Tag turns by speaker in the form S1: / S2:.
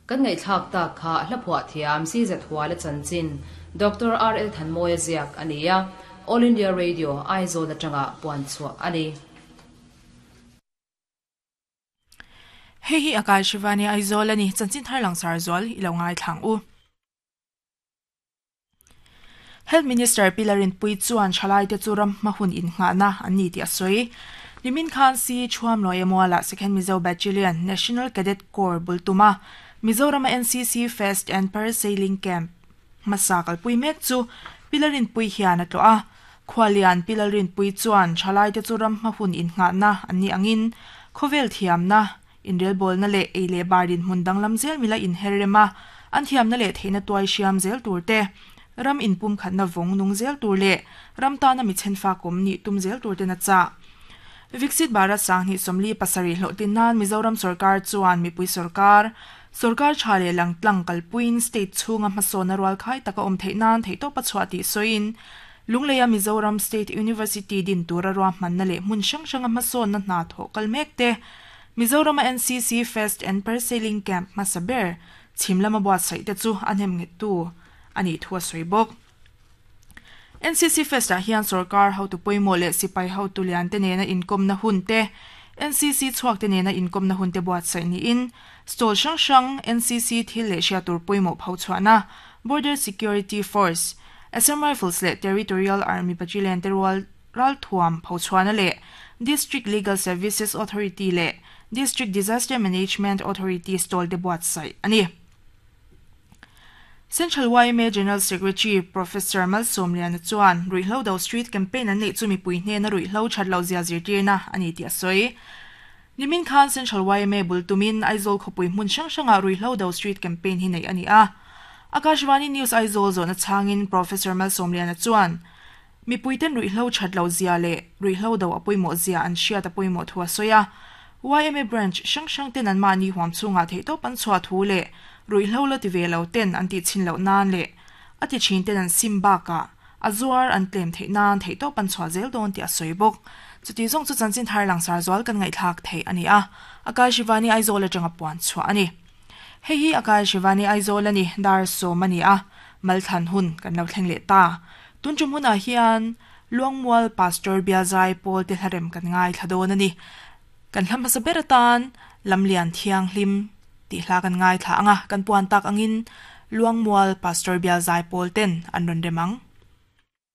S1: Kan ngaihthlak tak kha hla phuah thiam CZ Huala chanchin Doctor RL Thanmawia ziak a ni a, All India Radio, Aizawl atanga puan chhuah a ni.
S2: Hei hi Akash Shivani Aizawl a ni, chanchin thar langsar zual i lo ngaithlang u. Health Minister Pi Larinpui chuan thalaite chu ram hma hun innghahna an ni tih a sawi. Nimin khan Si Thuamlawi Mualah Second Mizo Battalion National Cadet Corps bul tuma Mizorama NCC Fest and Parasailing Camp hmasa kalpui mek chu Pi Larinpui hian a tlawh a. Khualian Pi Lalrinpui chuan thalaite chu ram hma hun innghahna an nih angin khawvel thiamna, Inrelbawlna leh ei leh bar dinhmun danglam zel mila inher rem a, an thiamna leh theihna tuai hriam zel tur te, ram inpumkhatna vawng nung zel tur leh ram tana mi chhenfakawm nih tum zel tur ten a chah. Viksit Bharat Sanghnih 47 hlawhtlin nan Mizoram sorkar chuan mipui sorkar, sorkar tha leh langtlang kalpuiin state chhunga hmasawnna rualkhai taka awm theih nan theihtawp a chhuah tih sawiin Lungleia Mizoram State University din tura ruahmanna leh hmun hrang hranga hmasawnna hna thawh kal mek te Mizorama NCC Fest and Parasailing Camp hmasa ber chhim lama buatsaih te chu a hnem nghettu a nih thu a sawi bawk. NCC Fest ah hian sorkar hotu pawimawh leh sipai hotu lian te nena inkawmna hun te, NCC chhuak te nena inkawmna hun te buatsaih niin stall hrang hrang NCC thil leh hriat tur pawimawh phochhuahna Border Security Force, Assam Rifles leh Territorial Army Battalion te rual Ralthuam Phochhuana leh District Legal Services Authority leh District Disaster Management Authority stall te buatsaih a ni. Central yma General Secretary Professor Malsawmliana chuan ruihhlo do street campaign an neih chu mipui hnena ruihhlo that loh zia zirtirna a ni tih a sawi. Nimin khan Central yma bul tumin Aizawl khawpui hmun hrang hrangah ruihhlo do street campaign hi neih a ni a. Akashvani News Aizawl zawhna chhangin Professor Malsawmliana chuan Mipuiten ruihhlo that loh zia leh ruihhlo do a pawimawh zia an hriat a pawimawh thu a sawi a. Yma branch hrang hrang ten anmahni huam chhungah theihtawp an chhuah thu leh ruihhlo la ti ve lo ten an tih chhin loh nan leh a ti thin ten an sim bakah a zuar an tlem theih nan theihtawp an chhuah zel dawn tih a sawi bawk. Chuti zawng chu chanchin thar langsar zual kan ngaihthlak theih a ni a, Akash Shivani Aizawl atanga puan chhuah a ni. Hei hi Akash Shivani Aizawl a ni, dar sawm a ni a, malthlan hun kan lo thleng leh ta. Tun tum hunah hian Luangmual Pastor Bialzai Pawl te hlarem kan ngaithla dawn a ni. Kan hla hmasa ber atan Lamlian Thianghlim tih hla kan ngaithla ang a, kan puan tak angin Luangmual Pastor Bialzai Pawl ten an rawn rem ang.